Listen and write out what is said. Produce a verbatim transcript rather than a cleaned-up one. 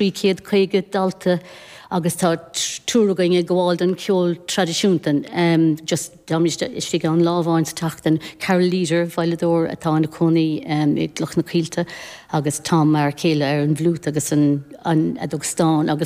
trí chéad caoga dalta agus tá triúr againn ag gabháil don cheol traidisiúnta um, just istigh an lá amháin sa tseachtain Carol Leader veidhleadóir atá ina cónaí um, i gCloich na Coillte agus Tom mar chéile ar an bhfliúit agus an, an fheadóg stáin agus